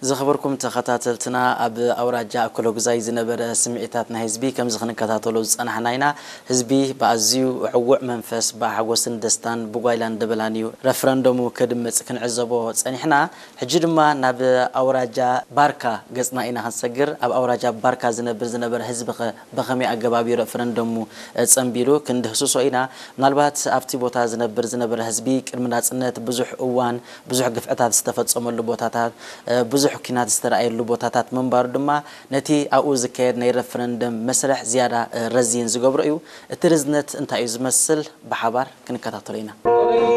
ዝኸበርኩም ተኸታተልትና፣ ኣብ ኣውራጃ ኣኮሎጉዛይ ዝነበረ ስምዒታት ናይ ህዝቢ ከምዚ ክንከታተሎ ዝጸናሕና ኢና። ህዝቢ ብኣዝዩ ዕዉዕ መንፈስ፣ ብሓጎስን ደስታን ብጓይላን ደበላን እዩ ረፍረንደሙ ከድምጽ ክንዕዘቦ ጸኒሕና። ሕጂ ድማ ናብ ኣውራጃ ባርካ ገጽና ኢና ክንሰግር። ኣብ ኣውራጃ ባርካ ዝነብር ዝነበረ ህዝቢ ኸ ብኸመይ ኣገባብ እዩ ረፍረንደሙ ጸንቢሉ ክንድህስሶ ኢና። ምናልባት ኣብቲ ቦታ ዝነብር ዝነበረ ህዝቢ ቅድሚ ናጽነት ብዙሕ እዋን ብዙሕ ግፍዕታት ዝተፈጸመሉ ቦታታት፣ ብዙሕ ኲናት ዝተረኣየሉ ቦታታት ምንባሩ ድማ ነቲ ኣብኡ ዝካየድ ናይ ረፍረንደም መስርሕ ዝያዳ ረዚን ዝገብሮ እዩ። እቲ ርዝነት እንታይ እዩ ዝመስል? ብሓባር ክንከታተሎ ኢና።